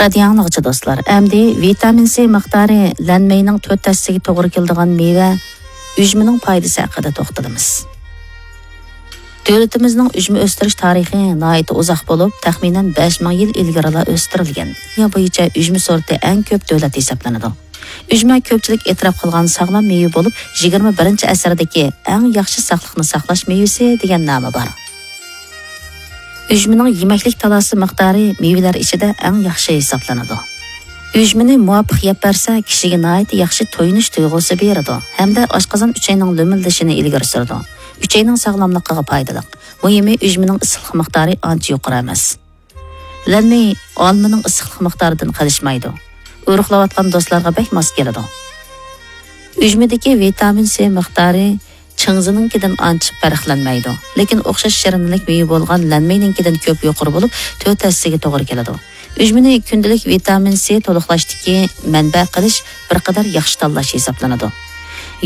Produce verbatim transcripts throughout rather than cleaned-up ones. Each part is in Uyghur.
رادىيو ئاڭلىغۇچى دوستلار، ئەمدى ۋىتامىن سى مىقدارى لەنمەينىڭ تۆت ھەسسىسىگە توغرا كېلىدىغان مېۋە ئۈجمىنىڭ پايدىسى ھەققىدە توختىلىمىز. دۆلىتىمىزنىڭ ئۈجمە ئۆستۈرۈش تارىخى ناھايىتى ئۇزاق بولۇپ، تەخمىنەن بەش مىڭ يىل ئىلگىرىلا ئۆستۈرۈلگەن. دۇنيا بويىچە ئۈجمە سورتى ئەڭ كۆپ دۆلەت ھېسابلىنىدۇ. ئۈجمە كۆپچىلىك ئېتىراپ قىلغان ساغلام مېۋە بولۇپ، يىگىرمە بىرىنچى ئەسىردىكى ئەڭ ياخشى ساقلىقنى ساقلاش مېۋىسى دېگەن نامى بار. ئۈجمىنىڭ يېمەكلىك تالاسى مىقدارى مېۋىلەر ئىچىدە ئەڭ ياخشى ھېسابلىنىدۇ. ئۈجمىنى مۇۋاپىق يەپ بەرسە، كىشىگە ناھايىتى ياخشى تويۇنۇش تۇيغۇسى بېرىدۇ ھەمدە ئاشقازان ئۈچەينىڭ لۆمۈلدىشىنى ئىلگىرى سۈرىدۇ. ئۈچەينىڭ ساغلاملىقىغا پايدىلىق. مۇھىمى، ئۈجمىنىڭ ئىسسىقلىق مىقدارى ئانچە يۇقىرى ئەمەس. لەنمېي ئالمىنىڭ ئىسسىقلىق مىقدارىدىن قېلىشمايدۇ. ئورۇقلاۋاتقان دوستلارغا بەك ماس كېلىدۇ. ئۈجمىدىكى ۋىتامىن سى مىقدارى چىڭزىنىڭكىدىن ئانچە پەرقلەنمەيدۇ. لېكىن ئوخشاش شىرىنلىك مېۋە بولغان لەنمېينىڭكىدىن كۆپ يۇقىرى بولۇپ، تۆت ھەسسىگە توغرا كېلىدۇ. ئۈجمىنى كۈندىلىك ۋىتامىن سى تولۇقلاشتىكى مەنبە قىلىش بىر قەدەر ياخشى تاللاش ھېسابلىنىدۇ.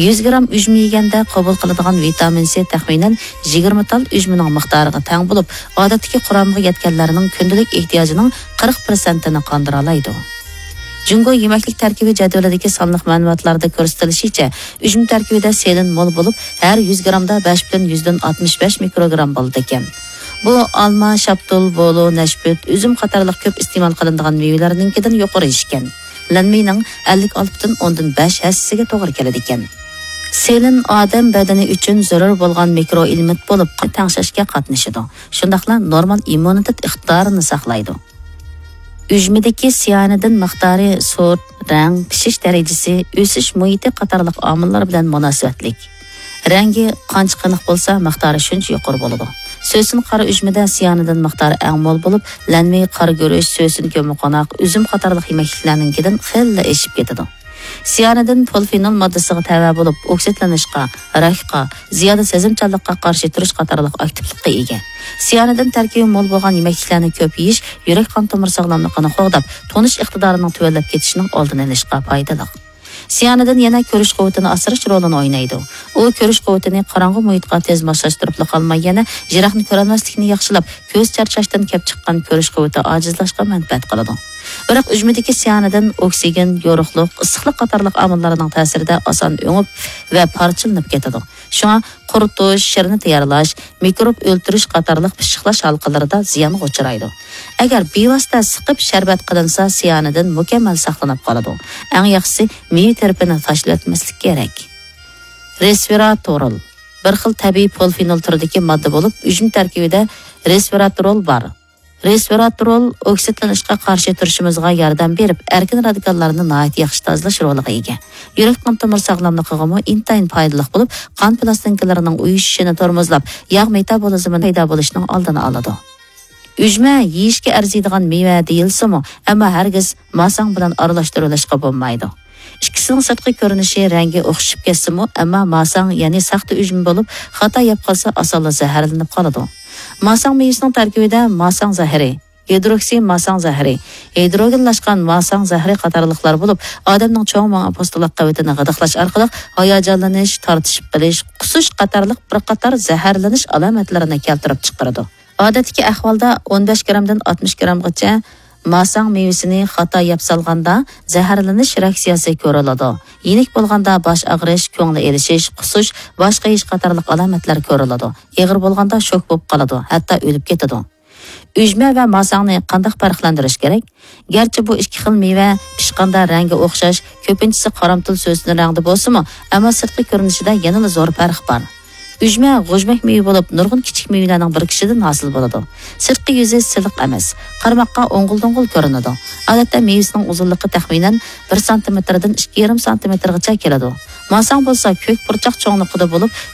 يۈز گرام ئۈجمە يېگەندە قوبۇل قىلىدىغان ۋىتامىن سى تەخمىنەن يىگىرمە تال ئۈجمىنىڭ مىقدارىغا تەڭ بولۇپ، ئادەتتىكى قۇرامىغا يەتكەنلەرنىڭ كۈندىلىك ئېھتىياجىنىڭ قىرىق پىرسەنتىنى قاندۇرالايدۇ. جۇڭگو يېمەكلىك تەركىبى جەدۋىلىدىكى سانلىق مەلۇماتلاردا كۆرسىتىلىشىچە، ئۈجمە تەركىبىدە سېلېن مول بولۇپ، ھەر يۈز گرامدا بەش پۈتۈن يۈزدىن ئاتمىش بەش مىكروگرام بولىدىكەن. بۇ ئالما، شاپتۇل، بولۇ، نەشپۈت، ئۈزۈم قاتارلىق كۆپ ئىستېمال قىلىنىدىغان مېۋىلەرنىڭكىدىن يۇقىرى ئىكەن. لەنمېينىڭ ئەللىك ئالتە پۈتۈن ئوندىن بەش ھەسسىسىگە توغرا كېلىدىكەن. سېلېن ئادەم بەدىنى ئۈچۈن زۆرۈر بولغان مىكرو ئېلېمېنت بولۇپ، قان تەڭشەشكە قاتنىشىدۇ. شۇنداقلا نورمال ئىممۇنىتېت ئىقتىدارىنى ساقلايدۇ. ئۈجمىدىكى سىيانىدىن مىقدارى سورت، رەڭ، پىشىش دەرىجىسى، ئۆسۈش مۇھىتى قاتارلىق ئامىللار بىلەن مۇناسىۋەتلىك. رەڭگى قانچە قېنىق بولسا، مىقدارى شۇنچە يۇقىرى بولىدۇ. سۆسۈن قارا ئۈجمىدە سىيانىدىن مىقدارى ئەڭ مول بولۇپ، لەنمېي، قارا گۈرۈچ، سۆسۈن كۆممىقوناق، ئۈزۈم قاتارلىق يېمەكلىكلەرنىڭكىدىن خېلىلا ئېشىپ كېتىدۇ. سىيانىدىن پولفېنول ماددىسىغا تەۋە بولۇپ، ئوكسىدلىنىشقا، راكقا، زىيادە سېزىمچانلىققا قارشى تۇرۇش قاتارلىق ئاكتىپلىققا ئىگە. سىيانىدىن تەركىبى مول بولغان يېمەكلىكلەرنى كۆپ يېيىش يۈرەك قان تومۇر ساغلاملىقىنى قوغداپ، تونۇش ئىقتىدارىنىڭ تۆۋەنلەپ كېتىشىنىڭ ئالدىنى ئېلىشقا پايدىلىق. سىيانىدىن يەنە كۆرۈش قۇۋۋىتىنى ئاسراش رولىنى ئوينايدۇ. ئۇ كۆرۈش قۇۋۋىتىنى قاراڭغۇ مۇھىتقا تېز ماسلاشتۇرۇپلا قالماي، يەنە يىراقنى كۆرەلمەسلىكنى ياخشىلاپ، كۆز چارچاشتىن كەپ چىققان كۆرۈش قۇۋۋىتى ئاجىزلاشقا مەنپەئەت قىلىدۇ. بىراق ئۈجمىدىكى سىيانىدىن ئوكسىگېن، يورۇقلۇق، ئىسسىقلىق قاتارلىق ئامىللارنىڭ تەسىرىدە ئاسان ئۆڭۈپ ۋە پارچىلىنىپ كېتىدۇ. شۇڭا قۇرۇتۇش، شىرنە تەييارلاش، مىكروب ئۆلتۈرۈش قاتارلىق پىششىقلاش ھالقىلىرىدا زىيانغا ئۇچرايدۇ. ئەگەر بىۋاسىتە سىقىپ شەربەت قىلىنسا، سىيانىدىن مۇكەممەل ساقلىنىپ قالىدۇ. ئەڭ ياخشىسى، مېۋە تەرىپىنى تاشلىۋەتمەسلىك كېرەك. رېسۋېراترول بىر خىل تەبىئىي پولفېنول تۈرىدىكى ماددا بولۇپ، ئۈجمە تەركىبىدە رېسۋېراترول بار. رېسۋېراترول ئوكسىدلىنىشقا قارشى تۇرۇشىمىزغا ياردەم بېرىپ، ئەركىن رادىكاللارنى ناھايىتى ياخشى تازىلاش رولىغا ئىگە. يۈرەك قان تومۇر ساغلاملىقىغىمۇ ئىنتايىن پايدىلىق بولۇپ، قان پىلاستىنكىلىرىنىڭ ئۇيۇشۇشىنى تورمۇزلاپ، ياغ مېتابولىزمىنىڭ پەيدا بولۇشىنىڭ ئالدىنى ئالىدۇ. ئۈجمە يېيىشكە ئەرزىيدىغان مېۋە دېيىلسىمۇ، ئەمما ھەرگىز ماساڭ بىلەن ئارىلاشتۇرۇۋېلىشقا بولمايدۇ. ئىككىسىنىڭ سىرتقى كۆرۈنۈشى، رەڭگى ئوخشىشىپ كەتسىمۇ، ئەمما ماساڭ، يەنى ساختا ئۈجمە بولۇپ، خاتا يەپ قالسا، ئاسانلا زەھەرلىنىپ قالىدۇ. ماساڭ مېۋىسىنىڭ تەركىبىدە ماساڭ زەھىرى، گىدروكسىماساڭ زەھىرى، ھىدروگېنلاشقان ماساڭ زەھىرى قاتارلىقلار بولۇپ، ئادەمنىڭ چوڭ مېڭە پوستىلاق قەۋىتىنى غىدىقلاش ئارقىلىق ھاياجانلىنىش، تارتىشىپ قېلىش، قۇسۇش قاتارلىق بىر قاتار زەھەرلىنىش ئالامەتلىرىنى كەلتۈرۈپ چىقىرىدۇ. ئادەتتىكى ئەھۋالدا ئون بەش گرامدىن ئاتمىش گرامغىچە ماساڭ مېۋىسىنى خاتا يەپ سالغاندا زەھەرلىنىش رېئاكسىيەسى كۆرۈلىدۇ. يېنىك بولغاندا باش ئاغرىش، كۆڭلى ئېلىشىش، قۇسۇش، باش قېيىش قاتارلىق ئالامەتلەر كۆرۈلىدۇ. ئېغىر بولغاندا شوك بولۇپ قالىدۇ، ھەتتا ئۆلۈپ كېتىدۇ. ئۈجمە ۋە ماساڭنى قانداق پەرقلەندۈرۈش كېرەك؟ گەرچە بۇ ئىككى خىل مېۋە پىشقاندا رەڭگى ئوخشاش، كۆپىنچىسى قارامتۇل سۆسۈن رەڭدە بولسىمۇ، ئەمما سىرتقى كۆرۈنۈشىدە يەنىلا زور پەرق بار. ئۈجمە غۇژمەك مېۋە بولۇپ، نۇرغۇن كىچىك مېۋىلەرنىڭ بىرىكىشىدىن ھاسىل بولىدۇ. سىرتقى يۈزى سىلىق ئەمەس، قارىماققا ئوڭغۇل-دوڭغۇل كۆرۈنىدۇ. ئادەتتە مېۋىسىنىڭ ئۇزۇنلۇقى تەخمىنەن بىر سانتىمېتىردىن ئىككى يېرىم سانتىمېتىرغىچە كېلىدۇ. ماساڭ بولسا كۆك پۇرچاق چوڭلۇقىدا بولۇپ،